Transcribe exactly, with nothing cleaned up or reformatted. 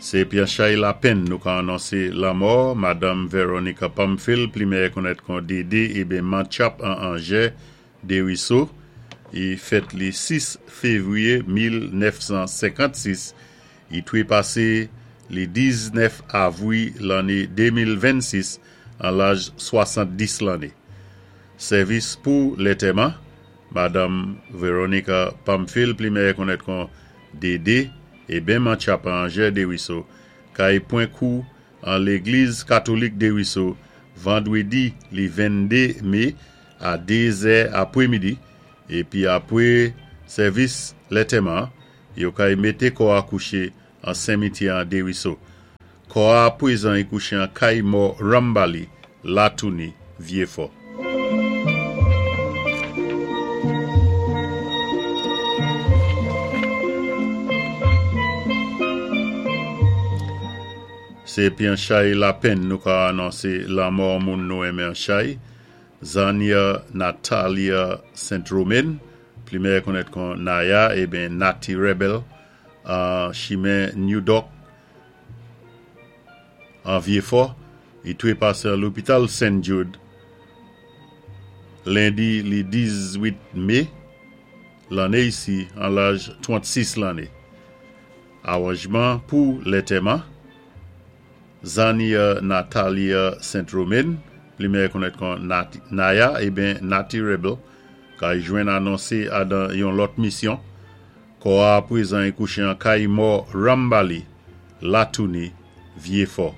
Sé pi an chay lapenn nou ka anonsé lanmò Madanm Veronica Pamphile, pli mèyè konnèt kon Dédé eben Mantchap an Anjè Dériso. I fèt li sis févwiyé mil nèf san senkannsis. I twé pasé li diznèf avwi lanné de mil vennsis an laj swasanndis lanné. Sèvis pou lantèman Madanm Veronica Pamphile, pli mèyè konnèt kon Dédé eben Mantchap an Anjè Dériso, kay pwan kou an légliz katolik Dériso vandwédi li venndé mé a dé zè apwémidi, épi apwé sèvis lantèman, yo kay mété kò-a kouché an sinmityè an Dériso. Kò-a pwézan i kouché an kay mò Rambali, Latouni, Vyéfò. Sé pi an chay lapenn nou ka anonsé lanmò moun nou enmen an chay, Zania Natalia Saint-Romain, pli mèyè konnèt kon Naya eben Nati Rebel, an chimen New Dock an Vyéfò, i twé pasé an lopital Saint Jude lendi li dizwit mé lanné isi an laj trantsis lanné. Awanjman pou lantèman Zania Natalia Saint-Romain, pli mèyè konnèt kon Naya eben Nati Rebel, kay jwenn anonsé adan yon lòt misyon. Kò-a pwézan i kouché an kay mò Rambali, Latouni, Vyéfò.